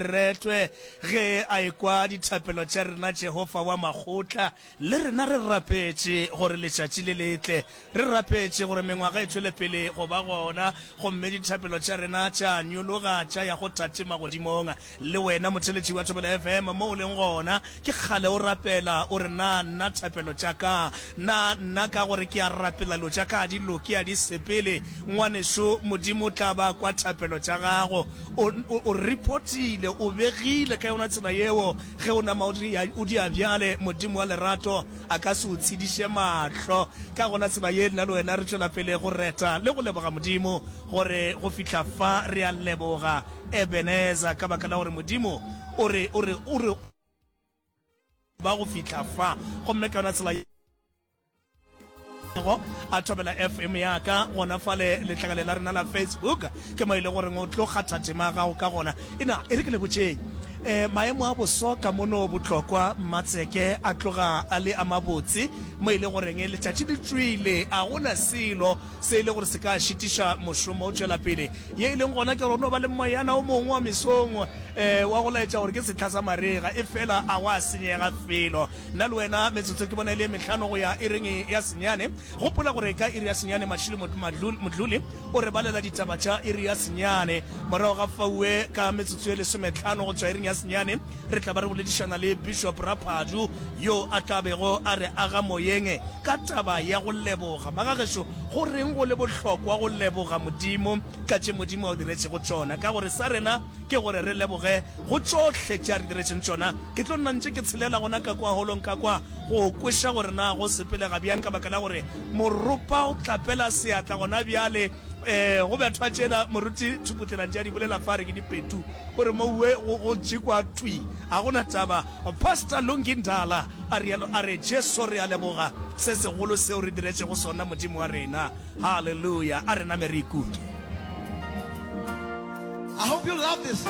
Retwe ge a ekwa dithapelo tša rena Jehofa wa makgotla. Le rena re rapetše gore letšatši le le tle. Re rapetše gore mengwaga e tšwele pele go ba gona, gomme dithapelo tša rena tša nyologa tša ya go Tate magodimong. Le wena motheeletši wa Thobela FM mo o leng gona, ke kgale o rapela o re, Na nna thapelo tša ka? Na nna ka gore ke a rapela dilo tša ka ga di loke, a di sepele? Ngwanešo, Modimo o tla ba a kwa thapelo tša gago. O, o, o reportile, o begile ka yona tsela yeo. Ge o nama o di, o di a bjale, Modimo wa lerato a ka se o tshediše mahlo. Ka gona tsela ye, nna le wena re tšwela pele go reta le go leboga Modimo gore go fihla fa re a leboga Ebenezer ka baka la gore Modimo o re, o re, o re ba go fihla fa. Gomme ka yona tsela ye. Go a thobela FM ya ka gona fale letlakale la rena la Facebook ke mo e le goreng o tlo kgatha tema ya gago ka gona. Ena e re ke le botšeng um maemo a boso ka mono Botlokwa Mmatseke a tloga a le a mabotse mo e le goreng letšatši le tšwile a gona selo se e le gore se ka šitiša mošomo o tšwela pele. Ye e leng gona ke gore go no ba le moyana o mongwe wa mesong um wa go laetša gore ke sehla sa marega efela a gwa senyega felo. Nna le wena, metsotso ke bona e le ye mehlano go ya iring ya senyane. Gopola gore ka iri ya senyane Mashilo Modluli o re balela ditaba tša iri ya senyane. Morago ga faue ka metsotso ye lesometlhano go tšwa iring ya senyane re tla ba re boledišana le Bishop Raphadu yo a tla bego a re aga moyeng ka taba ya go leboga. Magagešo, go reng go le bohlokwa go leboga Modimo ka tše Modimo a o diretšego tšona? Ka gore sa rena ke gore re leboge go tšohle tše a re diretšeng tšona. Ke tlo nna ntše ke tshelela gona ka kwa holong ka kwa go kweša gore na go sepelega bjang ka baka la gore moropa o tlapela seatla gona bjale. Um go bethwa tšela moruti Thuputlela ntše a di bolela fa a re ke dipetu o re mouwe go go tšekwa thwi ga go na taba. Pastor Lungi Ndala a rialo a re Jesu re a leboga se segolo seo re diretšego sona Modimo wa rena. Haleluya a re name re ikuke. I hope you love this.